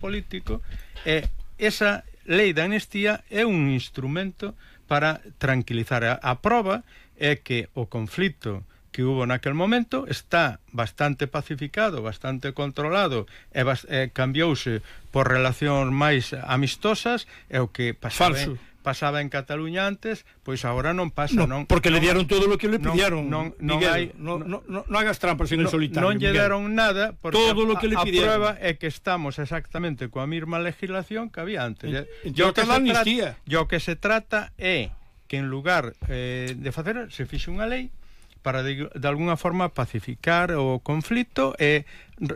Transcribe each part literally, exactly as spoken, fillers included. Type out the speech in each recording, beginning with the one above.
político, e esa lei de amnistía é un instrumento para tranquilizar. A, a prova é que o conflito que hubo naquel momento está bastante pacificado, bastante controlado, e, bas, e cambiouse por relacións máis amistosas, e o que pasaba en, pasaba en Cataluña antes, pois agora non pasa, no, non, porque non, le dieron todo o que le pidieron. Non, non, Miguel, hai, non, non, non, non hagas trampas en no, el solitario. Non lle deron nada, porque todo lo que le a, a prueba é que estamos exactamente coa mesma legislación que había antes. En, yo que, se yo que se trata é que en lugar eh, de facer, se fixe unha lei para de, de alguna forma pacificar o conflito e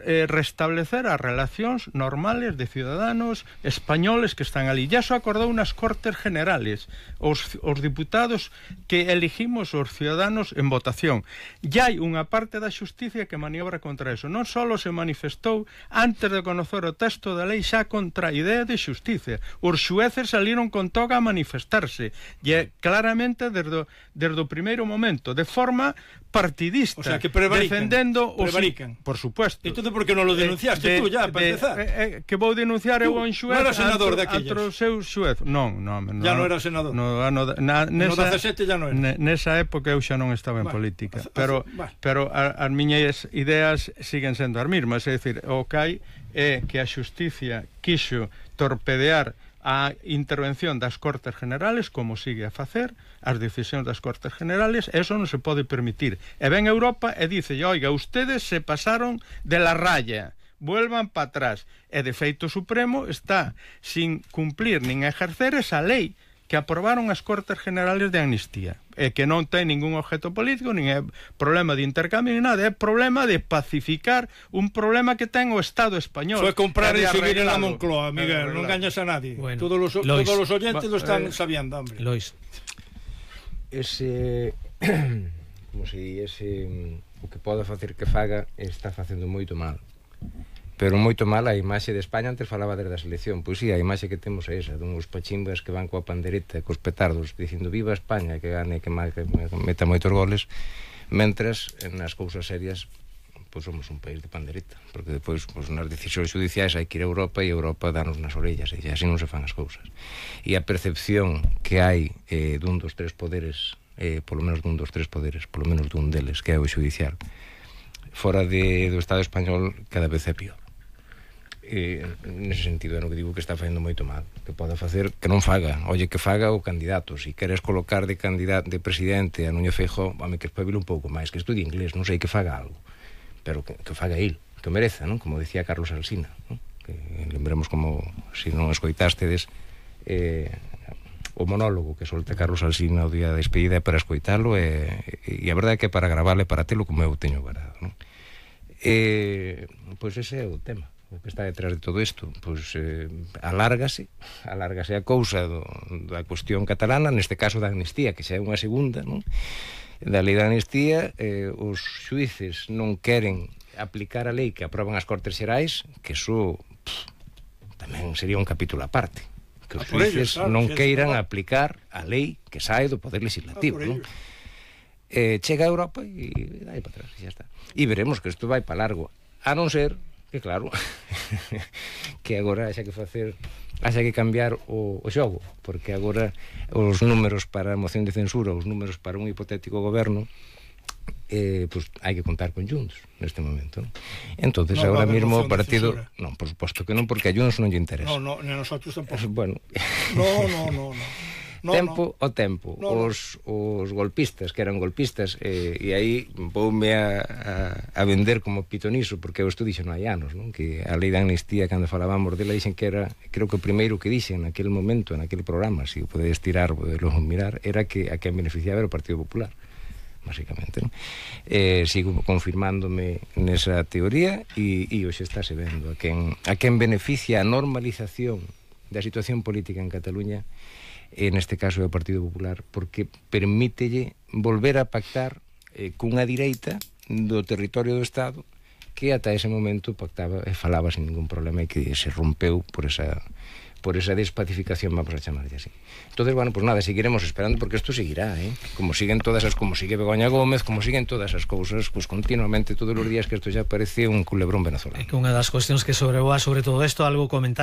eh, restablecer as relacións normales de ciudadanos españoles que están ali. Ya se acordou nas Cortes Generales os, os diputados que elegimos os ciudadanos en votación. Ya hai unha parte da xusticia que maniobra contra eso. Non só se manifestou antes de conocer o texto da lei xa contra a idea de xusticia. Os xueces saliron con toga a manifestarse e claramente desde, desde o primeiro momento, de forma partidista, o sea, que prevarican, defendendo os... prevarican. Por supuesto. Entonces, por que non lo denunciaste de, tú ya, para de, empezar? Eh, eh, que vou denunciar eu a un xuez... Non era senador daquellas? Antro seu xuez. Non, non, non. Ya non era senador? No, no, na, nesa, no dezasete ya non era? Nesa época eu xa non estaba en vale, política. Hace, pero vale. pero a, as miñas ideas siguen sendo as mesmas. É dicir, o que hai é que a xusticia quixo torpedear a intervención das Cortes Generales, como sigue a facer, as decisións das Cortes Generales, eso non se pode permitir. E ven Europa e dice, oiga, ustedes se pasaron de la raya, vuelvan para atrás. E de feito Supremo está sin cumplir nin ejercer esa lei que aprobaron as Cortes Generales de amnistía, e que non ten ningún objeto político, nin é problema de intercambio, nin nada, é problema de pacificar un problema que ten o Estado español. Foi comprar e seguir en la Moncloa, Miguel, non gañas a nadie. Bueno, todos los, Lois, todos los oyentes lo están eh, sabiendo, hombre. Lois. Ese, como se di, ese, o que pode facer que faga, está facendo moito mal. Pero moito mal a imaxe de España. Antes falaba desde a selección, pois si, a imaxe que temos é esa, dunhos pachimbas que van coa pandereta, cos petardos, dicindo viva España, que gane, que, mal, que meta moitos goles, mentras nas cousas serias pois somos un país de pandereta, porque depois pois, nas decisións judiciais hai que ir a Europa e Europa danos nas orellas, e así non se fan as cousas. E a percepción que hai eh, dun dos tres poderes, eh, polo menos dun dos tres poderes, polo menos dun deles, que é o judicial, fora de, do Estado español, cada vez é pior. E, nese sentido é no que digo que está facendo moito mal, que pode facer que non faga, oye, que faga o candidato. Se si queres colocar de candidato de presidente a Núñez Feijóo, home, que espabile un pouco máis, que estudie inglés, non sei, que faga algo, pero que, que faga il, que o mereza, non? Como decía Carlos Alsina, non? Que lembremos como, se non escoitástedes eh, o monólogo que solta Carlos Alsina o día da despedida, é para escoitalo, e, e a verdade é que para gravarle, para telo como eu teño guardado, non? E, pois ese é o tema, o que está detrás de todo isto. Pois eh, alárgase alárgase a cousa do, da cuestión catalana, neste caso da amnistía, que xa é unha segunda, non? Da lei da amnistía, eh, os xuíces non queren aplicar a lei que aproban as Cortes Xerais, que iso pff, tamén sería un capítulo aparte, que os xuíces claro, non queiran aplicar a lei que sae do Poder Legislativo, non? Eh, chega a Europa e dai para atrás, e xa está. E veremos que isto vai para largo, a non ser que claro, que agora haxa que facer, haxa que cambiar o, o xogo, porque agora os números para a moción de censura, os números para un hipotético goberno, eh, pues hai que contar con Junts neste momento. Entonces no, agora mesmo o partido, non, por suposto que non, porque a Junts non lle interesa. No, no, ni a nosotros tampouco. Bueno. No, no, no, no. No, tempo no. o tempo, no, os, os golpistas que eran golpistas, eh, e aí voume a, a, a vender como pitoniso, porque eu isto dixo non hai anos, non? Que a lei da amnistía, cando falábamos dela, dixen que era, creo que o primeiro que dixen naquele momento, naquele programa, se si o podedes tirar, poderlo mirar, era que a quen beneficiaba era o Partido Popular, basicamente, non? Eh, sigo confirmándome nesa teoría, e, e hoxe estáse vendo a quen, a quen beneficia a normalización da situación política en Cataluña, e neste caso é o Partido Popular, porque permítelle volver a pactar eh, cunha direita do territorio do Estado que ata ese momento pactaba e falaba sin ningún problema, e que se rompeu por esa por esa despacificación, vamos a chamarlle así. Entonces, bueno, pues nada, seguiremos esperando, porque esto seguirá, ¿eh? Como siguen todas as, como sigue Begoña Gómez, como siguen todas as cousas, pues continuamente, todos os días, que isto ya parece un culebrón venezolano. É que unha das cuestións que sobrevoa sobre todo isto, algo comentar